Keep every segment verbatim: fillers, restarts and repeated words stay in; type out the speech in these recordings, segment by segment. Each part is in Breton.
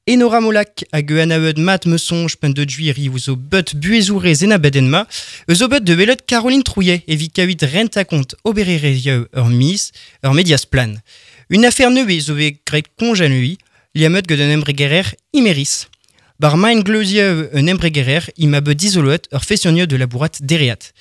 Enora Molac hag eun aeud mat me sonj pen de duiri zo bet buezourez en abedenma, eus o bet de welet Caroline Trouillet evit kaout renta kont obererezioù ur miz, ur medias plan. Une affaire neuve zo bet graet konj anui, liamet gant un embregerer Imerys. Bar maen gleuzieu un embregerer ima bet dizoloet ur fessionnieu de labourat dereat.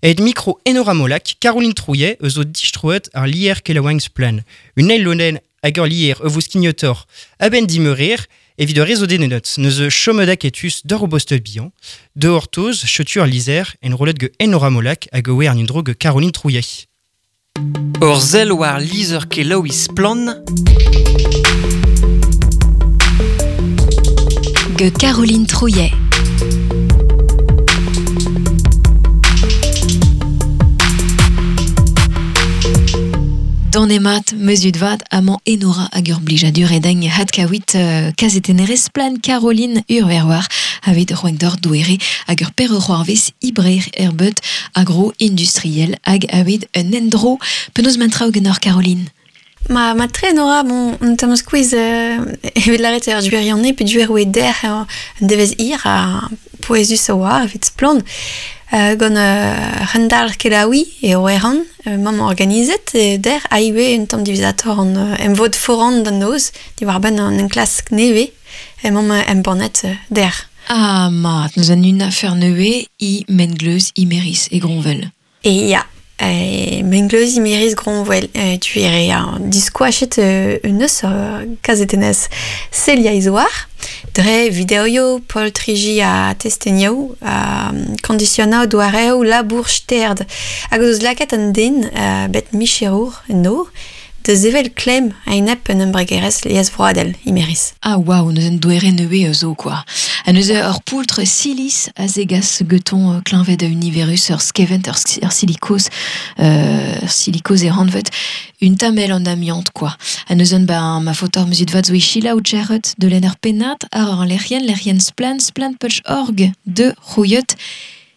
Et micro Enora Molac, Caroline Trouillet eus o distroet ar lier kelaouengs plan. Un eil lonen hag ur lier eus vos kignotor aben dimeurer evit ur rezo denenot, neus chomedak etus d'ur obostel bihan, de ortoz, chetu ar lizer, en rolet ge Enora Molac hag oe ar nindro ge Caroline Trouillet. Ur sell war lizher kelaouiñ Splann. Ge Caroline Trouillet. Danemat, mesud vat, amañ Enora hag ur blijadur edagn hadkawit uh, kazetennerez Splann Caroline Urverwar aveit roenk d'or douere hag ur per c'hoarvez ibrer erbet agro-industriel hag aveit un endro. Penaos mantraoù genoc'h Caroline? Ma, ma tre Enora, bon, un tamm skuizh euh, evit lâret ur duerianne pe duer oe der un devez ir a pouezus a oa evit Splann. Euh, gant euh, rendal kelaoui e oeran, euh, mamm organizet, e der a iwe un tamm divizator an euh, emvod foran d'an noz, diwar ben an enklask neve, e mamm embannet euh, der. Ah mat, neus an un affaire neve i mengleuz Imerys e Groñvel. E ya, e mengleuz Imerys Groñvel, e tu ere an diskoachet euh, un eus euh, kazetenez Celia Izoar, dre videoioù, poltriji a testenioù, a kondisionañ doareoù labour sterd. Hag o deus lakaet an den, uh, bet micherour no, de zevel klemm a-enep un embregerezh liesvroadel, Imerys. Ah waouh, neus un doere neue zo quoi. Ha neus ur poultr silis a zegas geton kleñved a univerus ur skevent ur, ur silikos, euh, ur silikoz e ranvet, un tamel an amiante quoi. Ha neus un ba ma fotor mesud vat zo e chila ou tcherret de len ur pennad ar ur lec'hienn, lec'hienn splann, splann punch org de c'houiot.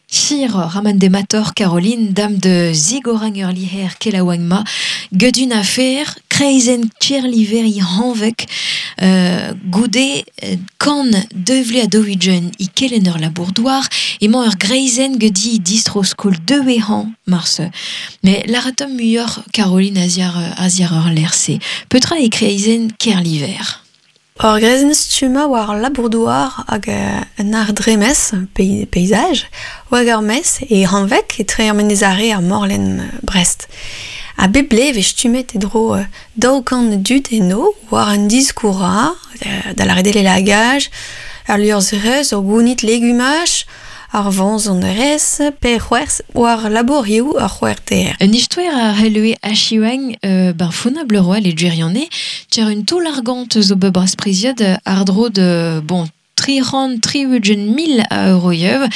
Chir raman de mator Caroline, dame de Zigorang ur liher kelaouangma, gedun afer, kreizen tcherliver i hanvek, euh, goude kan devle a dowijen i kelen ur labourdoar, emañ ur greizen gedi distro skol dewe han marse. Mais laratom muioc'h Caroline aziar, aziar ur lerse. Petra e kreizen kerliver? Ur greizenn stumma war labourdoar hag un ar dremez, paysage, hag ar mez e hanvek e tre ar menez-are ar morlenn Brest. A bep blev e stummet e dro daou kant dud eno war un diskoura, da la redel e lagaj, ar liorzherez, ur gounit legumaj, ar vañs an erez, pe c'hwerz war labourioù ar c'hwerter. Un istoer a helue achiwang euh, ben founabl roal e djerianne, tcher un taol argant zo bet bras priziad ar dro de, bon, tri c'hant tri ugent mil a euroiev,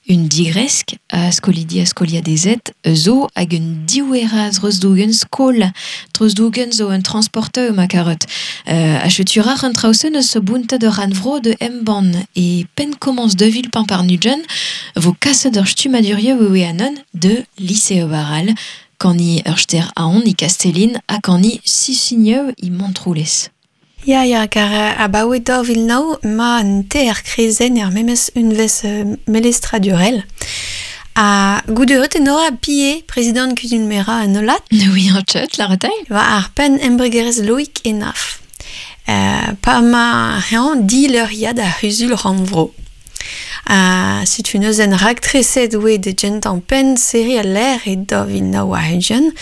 un digresk a skolidi a skolia dezet, zo hag un dioueraz rezdougen skol, trezdougen zo un transporteur ma karot. Euh, a chetur ar un traosen eus bunta de ranvro de emban e pen komans de vil pan par nujen, vo kaset ur stumadurioù oe anon de lycée baral, kan i ur ster aon i Castellin ha kan i sisigneu i Montroulez. Ya, ya, kar abaoe daou vil nav ma an ter krezenn er memes unvez melestradurel. A goude enora Pie, prezident kuzul mera an olat. Oui, an chat, la retail. Va ar pen embregerez Loïc Enaf. Euh, pa ma hean di leuriad a c'huzul rannvro. Uh, setu neuzen raktreset oe de gentan pen seri a l'air e daou vil nav war ugent,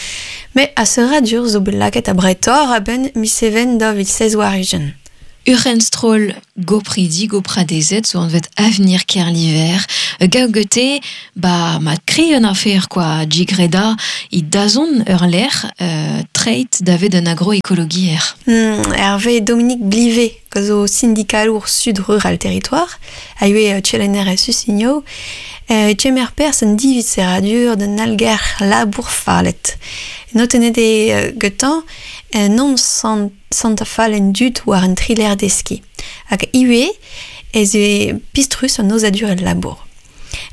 me a seradur zo bet lakaet a bretor a ben miseven daou vil seiz war ugent. Urenstroll gopridi gopradezet zo anvet avenir Kerliver. Gaugete, ba ma kri un affaire quoi, jigreda i dazon ur l'air euh, treit davet un agroécologier. Mm, Hervé Dominique Blivet, zo syndicalour sud rural territoire, a ue tchelenner e susigno, euh, tchemer pers un divit seradur d'un alger labour falet. Notenet e getan, non sant Santa Fall en dud war un triler deski. Hag iwe ez e pistrus an ozadur el labour.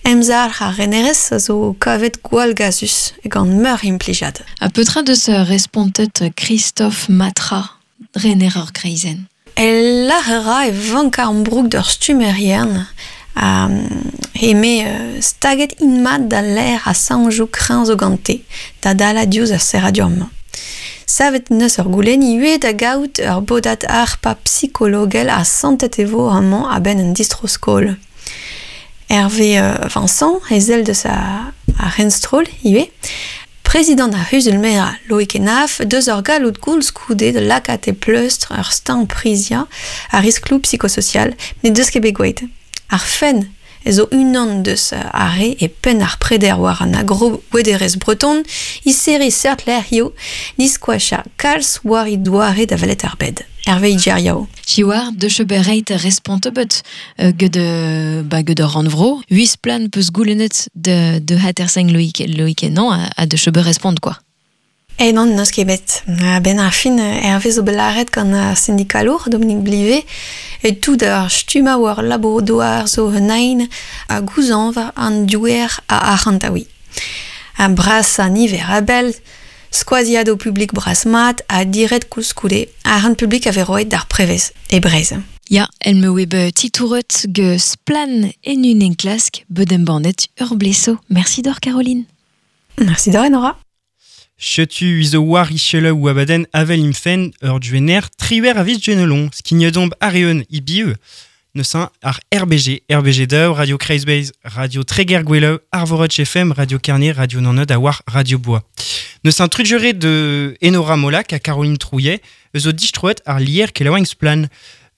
Emzar ar renerez a zo kavet gwall gazus gant meur implijad. A petra deus respontet Christophe Matra, rener ur greizenn. El lahera e vanka an brouk d'ur stumerien a eme uh, staget inmat da l'air a sanjou kreñv zo gante, da dala diouz ar serradurmañ. Savet neus ur goulenn ivez da gaout ur bodat ar pa psikologel a santet e vo amañ a-benn un distro-skol. Hervé euh, Vincent, ezel deus a, a Renstrol ivez, prezident ar C'huzul-merañ Loïc Hénaff, deus ur galloud koulskoude de lakaat e pleustr ur steuñv priziañ ar riskloù psikososial ne deus ket bet gwelet. Ar fenn e zo unan deus ar re e penn ar preder war an agro-bouederezh breton, i serri seurt lec'hioù diskoachañ kalz war he doare da welet ar bed. Hervé Idjeriao. Chiwar, de chebereit respont bet ged ba ged ur rannvro. Huiz plan peus goulennet de, de haterseng Loïc, Loïc non a, a de cheber respont quoi. E non, n'eus ket bet. A-benn ar fin, Hervé zo bet lâret gant ar syndikalour, Dominique Blivet, e tout ar stumma war labour douar zo un ein a gouzañv an diouer a arc'hantaouiñ. A bras a niver a bell, skoaziadoù publik bras mat ha diret koulskoude arc'hant publik a vez roet d'ar prevez, e Breizh. Ya, el me oe bet titouret ge splan en un enklask bet embannet ur bleso. Merci d'or, Caroline. Merci d'or, Enora. Chetu izo war ichele ou abaden avel imfen ur duener triwer avis duenelon, skignedomp areun ibiu, neusin ar R B G, R B G deux, Radio Kreizbeiz, Radio Treger Gweleu, Arvorotch F M, Radio Carnier, Radio Nanod, a war Radio Bois. Neusin trudjere de Enora Molac a Caroline Trouillet, eus o distroet ar lier kelaouenn splan.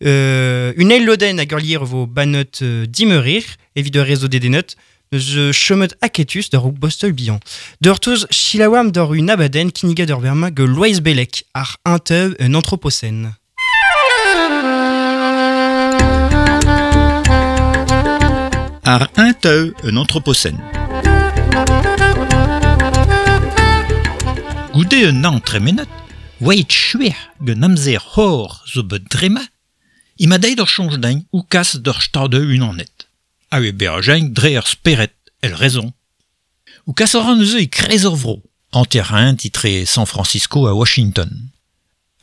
Euh, une eil loden hag ur lier vo banot euh, dimeurir, evit ur réseau dedenot, neus chemet aketus d'ur bostol bihan. D'ur toz chilawam d'ur un abaden kinniga d'ur berma ge Loeiz Bellec ar un un anthropocène. Ar un teu un anthropocène. Goude un an tremenet, oeit chuer gen amzer hor zo bet drema, ima deit ur soñj din ou kas d'ur stad unanet. A oe beajeñ dre ur speret, el rezon. Ou kas ur an eus e krez ur vro, anterrain titre San Francisco a Washington.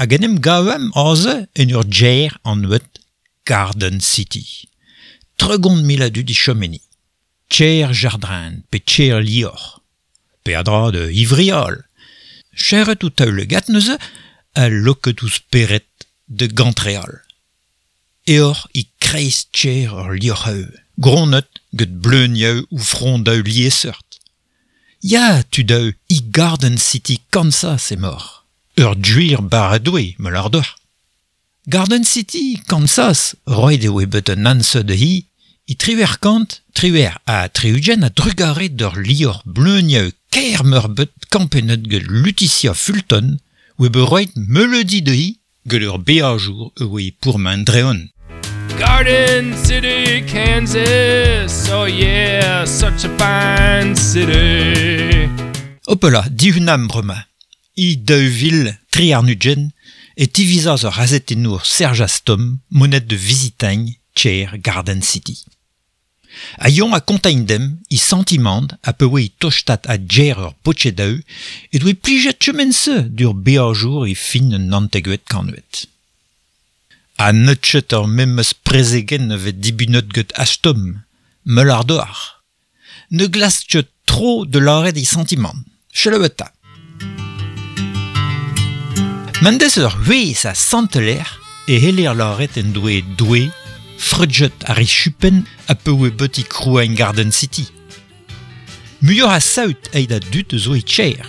Hag en em gavem aze en ur djer an ouet Garden City. Tregont mil a dud i chomeni. Tcher jardrin, pe tcher lior. Pe adra de ivrial. Cheret ou taul gat neuze, a loket ouz speret de gantreal. Eor i kreiz tcher ur liorheu. Gronet get bleunieu ou frondeu liesseurt. Ya, tudeu, i Garden City, Kansas e mor. Ur duir baradoue, me lardor. Garden City, Kansas, roet eo bet un anse de hi, i triwer kant, triwer a triugen a drugare d'ur lior bleunieu kaer meurbet kampenet get Letitia Fulton, oe bet roet melodi de hi, get ur beajour oe pourmen dreon. Garden City, Kansas, oh yeah, such a fine city. Hopela, divunam brema. I deuvil tri arnugen e tivizaz ur azetenour Serge Astom, monet de visitagn, tcher Garden City. A yon a kontaign dem, i sentimand, a pewe i tostat a djer ur potchedeu, e doe plijet chemen-se dur beajour i fin un anteguet kanuet. A neutchet ur memes prezegen vet dibunot get Astom, meul ar doar. Ne glastchet tro de laret i sentiment. Cheleueta. Mendes ur huez a santeler e heler laret en doe doe, freudjet ar i chupen a pewe beti kroain Garden City. Muioc'h a saout eid a dud zo e tcher.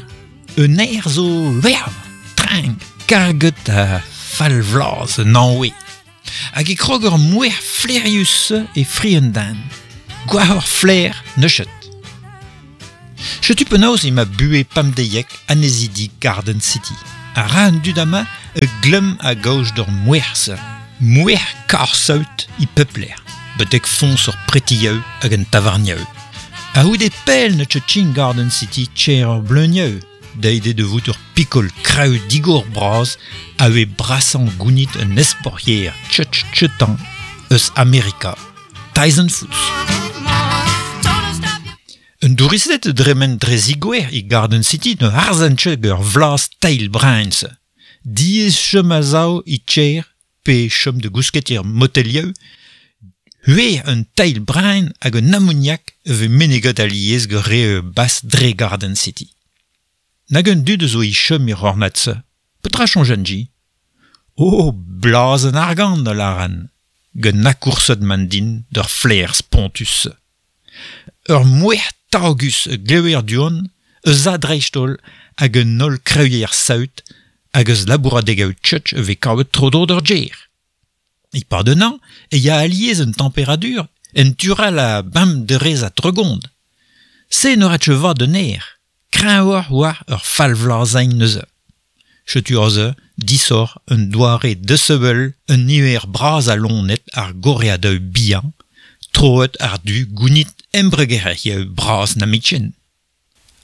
Un aer zo verv, trang, karget a falvlaz un anwe. Hag e krog ur mouer flerius e fri un dan. Gwar ur flair neuchet. Chetu penaos ema bue pamdeiek anezidi Garden City. A ra an dud ama e glem a gaoj d'ur mouer-se. Mouer kar saout i pepler. Betek fons ur pretieu hag un tavarnieu. A houde pell ne tchin Garden City tcher ur bleunieu. Deide de vout ur pikol kraou digor braz a oe brasan gounit un esporier tchetch tchetan eus Amerika. Tyson Foods. Un douristet dremen dre zigouer i Garden City ne harzan tcheg ur vlas teil brains. Diez chem a zao i tcher pe chom de gousketir motelieu, hue un teil brain hag un ammoniak ve menegot aliez ge re bas dre Garden City. Nag un dud zo i chom ir ornatse. Petra chonjan ji? Oh, blaz an argant a laran. Gen akoursot man din d'ur flair spontus. Ur mouer tagus gleuer duon, eus a dreistol hag un ol kreuier saout hag eus labouradeg tchutch ve kavet tro d'ur djer. I pardonnant, e ya aliez un température, en tural a bam de rez a tregond. Se ne ret va de ner, kreñv war ur falvlazain neuze. Chetu oze, disor un doare desevel un niver braz a lonet ar goreadeu bihan, troet ar du gounit embregerech braz na mitchen.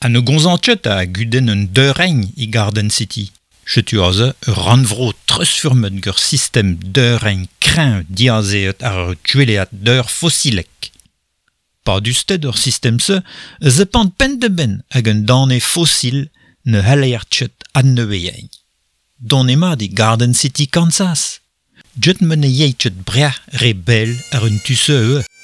An o gonzantchet a guden un deureign i Garden City. Chetu aze ur rannvro treusfurmet gur sistem deureign kreñv diazeet ar ur tueleat deur fossilek. Pa dusted ur sistem-se, ze pant pen de ben hag un dane fossil ne halleertchet an neueign. Don ema di Garden City, Kansas. Jet men e yeitchet brea re bel ar un tuse e.